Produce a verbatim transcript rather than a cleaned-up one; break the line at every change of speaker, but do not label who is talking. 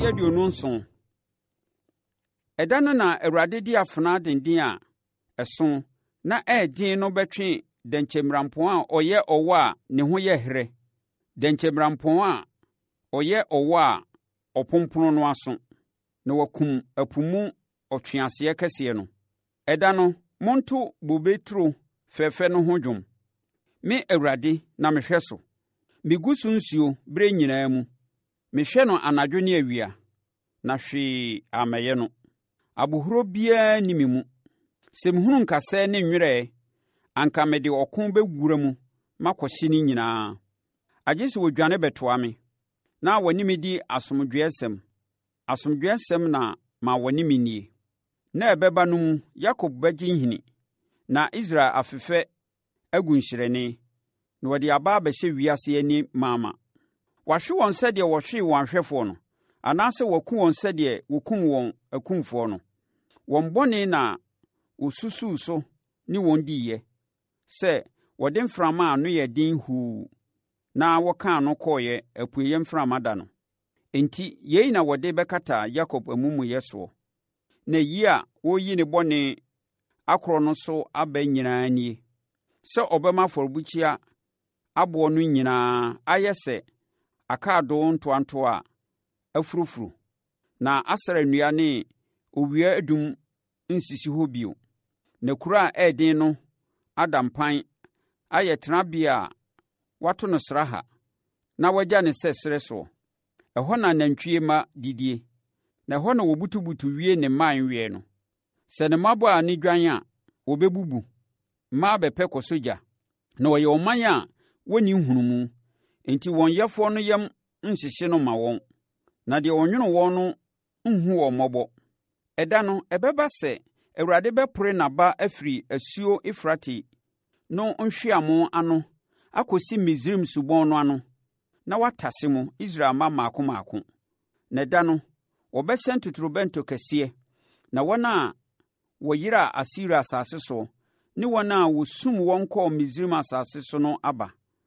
Ti aduonu nson. Ɛda no na Awurade de afena denden a ɛso na ɛyɛ den no bɛtwe dɛnkyɛmmirampɔn a ɔyɛ ɔwɔ a ne ho yɛ herɛ, dɛnkyɛmmirampɔn a ɔyɛ ɔwɔ a ɔpompono no aso, na wakum ɛpo mu ɔtweaseɛ kɛseɛ no. Ɛda no, monto bobe turo fɛfɛ no ho dwom. Me Awurade na mehwɛ so. Megu so nsuo berɛ nyinaa mu. Mehwɛ no anadwo ne awia, na hwee ammɛyɛ no. Abohuro biara nni me mu. Sɛ mehunu nkasɛɛ ne nwerɛ, anka mede ɔko bɛwura mu makɔhye ne nyinaa. Agye sɛ wɔdwane bɛtoa me, na wɔne me di asomdwoeɛsɛm. Asomdwoeɛsɛm na ma wɔne me nnie. Nna a ɛbɛba no mu Yakob bɛgye nhini, na Israel afefɛ agu nhyerɛnne, na wɔde aba abɛhyɛ wiase ani mama. Wɔahwe wɔn sɛdeɛ wɔhwee wɔn ahwɛfoɔ no, anaasɛ wɔaku wɔn sɛdeɛ wɔkum wɔn akumfoɔ no. Wɔn bɔne na wɔsusuu so ne wɔn diiɛ, sɛ wɔde mframa a ano yɛ den huu na wɔkaa no kɔeɛ apueeɛ mframa da no. Enti, yei na wɔde bɛkata Yakob amumuyɛ soɔ, na yi a wɔreyi ne bɔne akorɔ no so aba nyinaa nie, sɛ ɔbɛma afɔrebukyia aboɔ no nyinaa ayɛ sɛ akaadoo ntoantoa a afurofuro, na Asera nnua ne owia adum nsisi hɔ bio, na kuro a ɛyɛ den no ada mpan ayɛ tenabea a wɔato no sraha na wɔagya no sɛ serɛ soɔ. Ɛhɔ na anantwie mma didie, na ɛhɔ na wɔbutubutu wie ne mman weɛ no. Sɛ ne mmabaa no dwan a, wɔbɛbubu. Mmaa bɛpɛ kɔsɔ gya. Na wɔyɛ ɔman a wɔnni nhunumu, enti wɔn yɛfoɔ no yam nhyehye no mma wɔn, na deɛ ɔnwono wɔn no nhu wɔn mmɔbɔ. Ɛda no, ɛbɛba sɛ Awurade bɛpore n'aba afiri asuo Eufrate no nhweamo ano akɔsi Misraim subɔn no ano, na watase mo, Israel mma mmaako mmaako. Na ɛda no, wɔbɛhyɛn totorobɛnto kɛseɛ, na wɔn a wɔyeraa Asiria asase soɔ ne wɔn a wɔsum wɔn kɔɔ Misraim asase so no aba.